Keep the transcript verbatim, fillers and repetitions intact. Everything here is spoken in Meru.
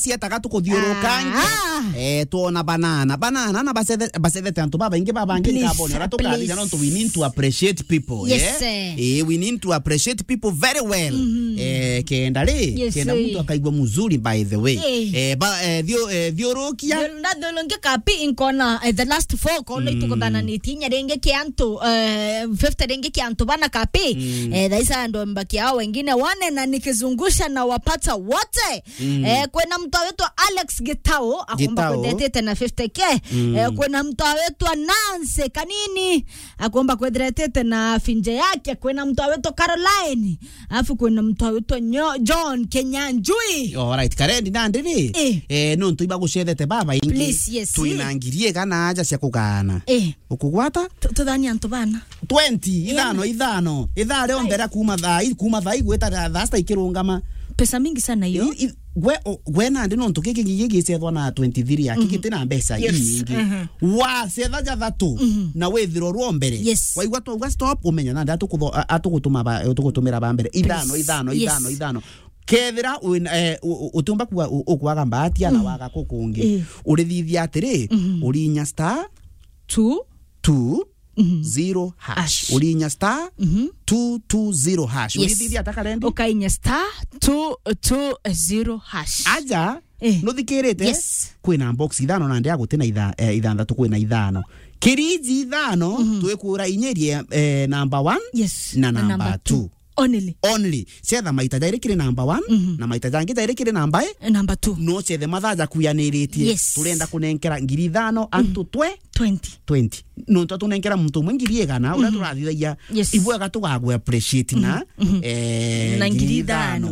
cietaga tukuthiurukangia. Ah. Eh, twona banana. Banana na bacethe-, bacethete antu babaingi babangi. Please, nkabone uria tukathithia please. Nontu we need to appreciate people, Yes, eh? Eh. Eh, we need to appreciate people very well. Mhm. Eh, kenda ri, Yes, kenda eh. muntu akaigua mzuri, by the way. Eh. Eh, ba-, eh, thio-, eh, thiurukia. Thio-, ndathulungia kapi inkona, eh, the last four kono Mm. itukuthananitie inya ringi kia antu, eh, fifty ringi kia antu bana kapi. Mm. Eh, thaisa ndo mbaki hao wengine wane na nikizungusha na wapata wote. Mm. Eh, kwina mtu awitwa Alex Gitau, akomba Gitau. Kwethetete na fifty K. Mm. Eh, kwina mtu awitwa Nancy Kanini, akomba kwethetete na finje yake. Kwina mtu awitwa Caroline, afu kwina mtu awitwa Nyo-, John Kenyanjui. All right, karendi na ndiri. Eh. Eh, nontu iba gucethete baba ingi. Please, yes. Twina ngiri igana aja cia kugana. Eh. Ukugwata? Tu-, tuthani antu bana. Twenty, Yeah. ithano, ithano. Ithaa rionthe Ai. ria kuma thaa i-, kuma thaa igweta thaa, thaa sita ikirungama. Pesa mingi sana hiyo. I-, i-, gwe, o-, gwe nandi nontu giki gigi gicethwa na twenty-three aki Mhm. giti na mbeca Yes. iingi. Mhm. Wacetha jathatu Mhm. na withirwo rwo mbere. Yes. Waigua twauga stop, umenya nandi atukutho-, a-, atugutuma ba, atugutumira ba mbere. Ithano, Please. ithano, Yes. ithano, ithano. Kethira wina, eh, u-, u-, utiumba kuga u-, ukwaga mbahati ana Mm. waga kukungi. Eh. Urithithia atiri, Mhm. urinya star Two. two Mhm. zero hash. Hash. Urinya star Mhm. two two zero hash. Yes. Urithithia ata karendi? Ukainya star two two zero hash. Aja, Eh. nuthikirite? Yes. Kwina box ithano na ndia gutina itha-, eh, ithanthatu kwina ithano. Kiriji ithano, Mhm. twikwira inyerie, eh, number one Yes. na Na number number two. two. Only. Only. Cetha maita jairi kiri number one, Mhm. na maita jangi jairi kiri number e. Number two. No cethe mathaa jakuyaniritie. Yes. Turenda kunenkera ngiri ithano antu twe Twenty. Twenty. Nontu tunenkera muntu umwe ngiri igana, uria Mhm. turathithagia, Yes. ibwega tugagwe appreciate na, Mhm. Mhm. eh, Na ngiri ngiri ithano. ithano.